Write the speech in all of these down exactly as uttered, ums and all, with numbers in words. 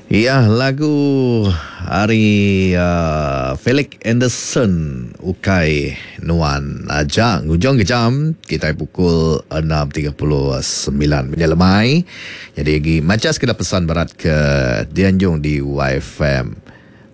Iya lagu ari uh, Felix Anderson ukai nuan aja. Ngujung ke jam kita pukul enam tiga puluh sembilan menyelemai. Jadi lagi maca sekeda pesan berat ke dianjung di Y F M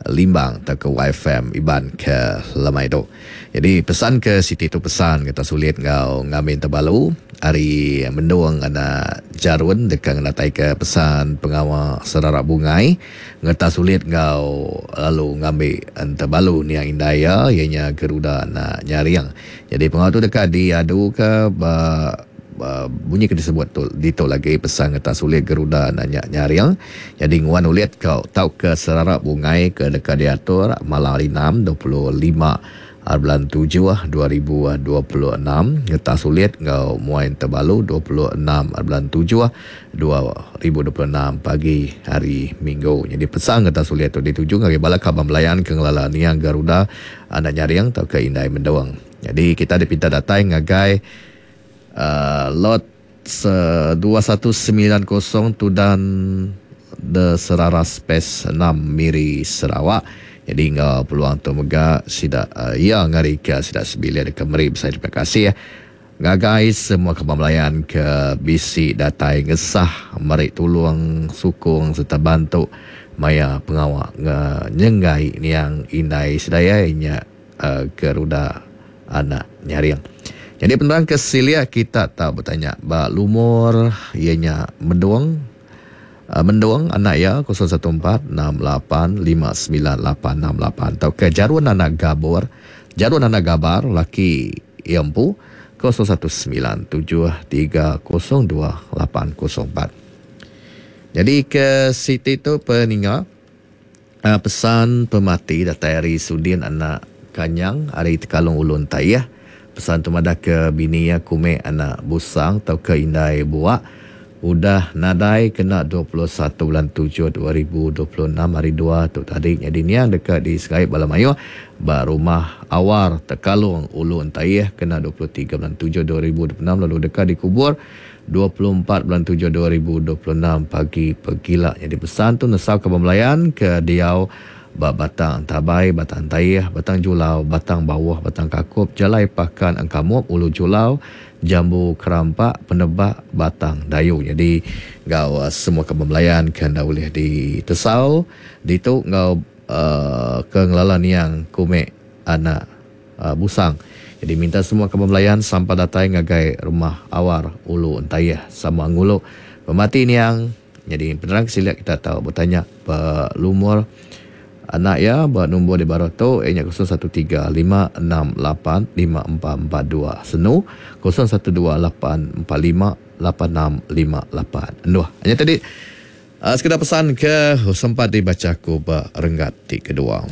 Limbang atau ke Y F M Iban ke lemai tu. Jadi pesan ke Siti tu pesan kita sulit ngau ngamin terbalu hari mendung anak jarun dekat ngenatai ke pesan pengawa serarak bungai ngeta sulit ngau lalu ngambil entebalu niang indaya ianya Geruda anak nyaring. Jadi pengawa tu dekat diadu ke ba, ba, bunyi ke disebut tu ditu lagi pesan ngeta sulit Geruda anak nyaring. Jadi nguan ulit kau tau ke serarak bungai ke dekat diatur malam hari enam dua puluh lima bulan tujuh dua ribu dua puluh enam ngeta sulit ngau muai terbalu dua puluh enam bulan tujuh dua ribu dua puluh enam pagi hari Minggu. Jadi pesan ngeta sulit tu dituju ngagai bala kaban belayan ke ngelala niang Garuda anak nyaring tau ke indai mendung. Jadi kita dipinta datai ngagai uh, lot dua satu sembilan kosong Tudan The Seraras Space enam Miri Sarawak. Jadi ngau peluang tu mega sida uh, ia ngari ke sida sebilik ke meri besai terima kasih ngagai semua kaban belayan ke bisi datai ngesah meri tulung sukung serta bantu maya pengawa nge nyenggai niang indai sedaya nya uh, Geruda anak nyaring. Jadi penerang ke silia kita tahu bertanya ba lumur ianya mendung Mendung anak ya kosong satu empat enam lapan lima sembilan lapan enam lapan atau ke Jarun anak Gabur, Jarun anak Gabar laki ia empu kosong satu sembilan tujuh tiga kosong dua lapan kosong empat. Jadi ke Siti tu peninga pesan pemati datai hari Sudin anak Kanyang hari Tekalung Ulun Tayah. Pesan tu madah ke bini ya Kume anak Busang atau ke Indai Buak udah nadai kena dua puluh satu bulan tujuh dua ribu dua puluh enam hari dua tu tadi. Jadi niang dekat di Segaib Bala Mayuh ba rumah Awar Tekalung Ulu Entayeh kena dua puluh tiga bulan tujuh dua ribu dua puluh enam lalu dekat dikubur dua puluh empat bulan tujuh dua ribu dua puluh enam pagi pegila. Jadi pesan tu nesau ke pembelayan ke diau ba Batang Tabai, Batang Tayeh, Batang Julau, Batang Bawah, Batang Kakup, Jalai Pakan Engkamup, Ulu Julau, Jambu Kerampak, Penebak, Batang Dayu. Jadi ngau uh, semua kebembelayan kena boleh ditesau ditu ngau uh, ke ngelala niang Kume anak uh, Busang. Jadi minta semua kebembelayan sampai datai ngagai rumah Awar Ulu Entayeh sama ngulu pemati niang. Jadi penerang sila kita tahu bertanya pe lumur anak ya buat nombor di bawah tu ianya kosong satu tiga lima enam lapan lima empat empat dua senu kosong satu dua lapan empat lima lapan enam lima lapan. Enduh. Hanya tadi uh, sekedar pesan ke sempat dibaca ku ba renggat ti kedua.